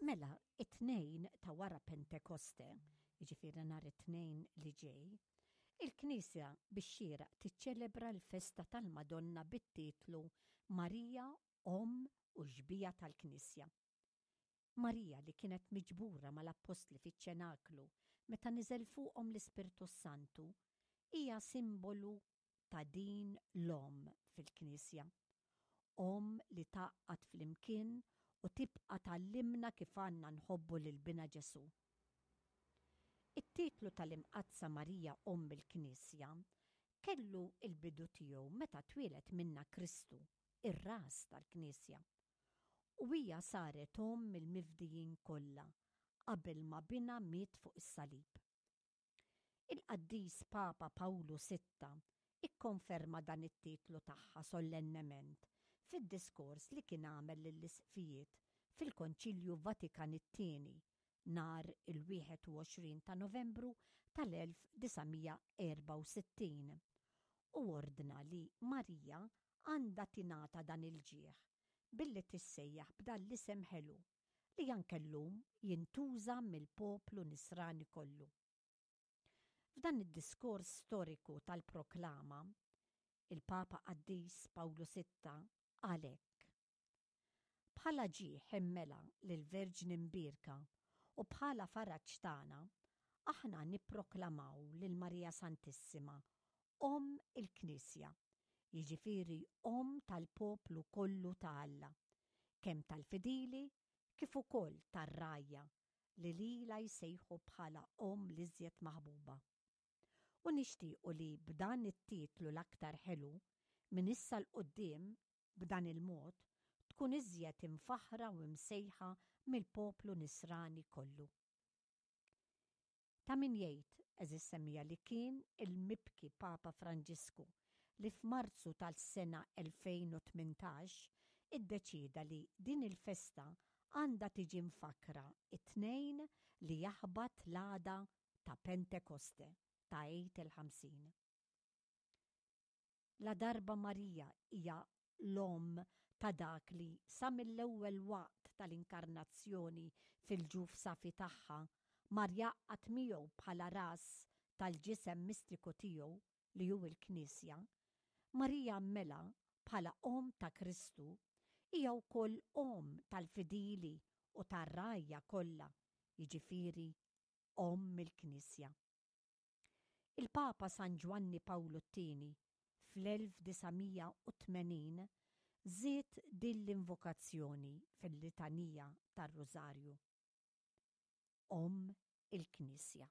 Mela, it-Tnejn ta' wara Pentekoste, jiġifieri nhar it-Tnejn li ġej, il-Knisja bix-xieraq tiċċelebra l-festa tal-Madonna bit-titlu Marija Omm u Xbieha tal-Knisja. Marija li kienet miġbura mal-appostli fiċ-ċenaklu meta niżel fuqhom l-Ispirtu s-Santu, hija simbolu ta' din l-Omm fil-Knisja. Omm li tgħaqqad flimkien u tibqa' tgħallimna kif għandna nħobbu lil Binha Ġesù. It-titlu tal-Imqaddsa Marija Omm il-Knisja kellu l-bidu tiegħu meta twieled minnha Kristu, ir-Ras tal-Knisja. U hija saret omm il-mifdijin kollha qabel ma Binha miet fuq is-salib. Il-Qaddis Papa Pawlu Sitta ikkonferma dan it-titlu tagħha sollennement fid-diskors li kien għamel lill-Isqfijiet fil-Konċilju Vatikan it-Tieni nhar il-21 ta' Novembru tal-1964 u ordna li Marija għandha tingħata dan il-ġieħ billi tissejjaħ b'dan l-isem ħelu li anke llum jintuża mill-poplu Nisrani kollu. F'dan id-diskors storiku tal-proklama, il-Papa Qaddis Pawlu Sitta qal hekk, Bħala ġieħ immela lill-Verġni Mbierka u bħala faraġ tagħna, aħna nipproklamaw lil Marija Santissima Omm il-Knisja, jiġifieri Omm tal-poplu kollu ta' Alla, kemm tal-fidili kif ukoll tar-rgħajja li lilha jsejħu bħala Omm l-iżjed maħbuba. U nixtiequ li b'dan it-titlu l-aktar ħelu, minn issa 'l quddiem, b'dan il-mod, tkun iżjed imfaħħra u msejħa mill-poplu Nisrani kollu. Ta' min jgħid, għeżież semmiegħa, li kien il-mibki Papa Franġisku li f'Marzu tal-sena 2018 iddeċieda li din il-festa għandha tiġi mfakkra t-Tnejn li jaħbat l-għada ta' Pentekoste, ta' Għid il-Ħamsin. Ladarba Marija hija l-Omm ta' dak li sa mill-ewwel waqt tal-Inkarnazzjoni fil-ġuf safi tagħha mar jgħaqqad miegħu bħala ras tal-ġisem mistiku tiegħu li hu l-Knisja, Marija mela bħala Omm ta' Kristu hija wkoll Omm tal-fidili u tar-rgħajja kollha, jiġifieri Omm il-Knisja. Il-Papa San Ġwanni Pawlu t-Tieni fl-1980 żied din l-invokazzjoni fil-litanija tar-Rużarju, Omm il-Knisja.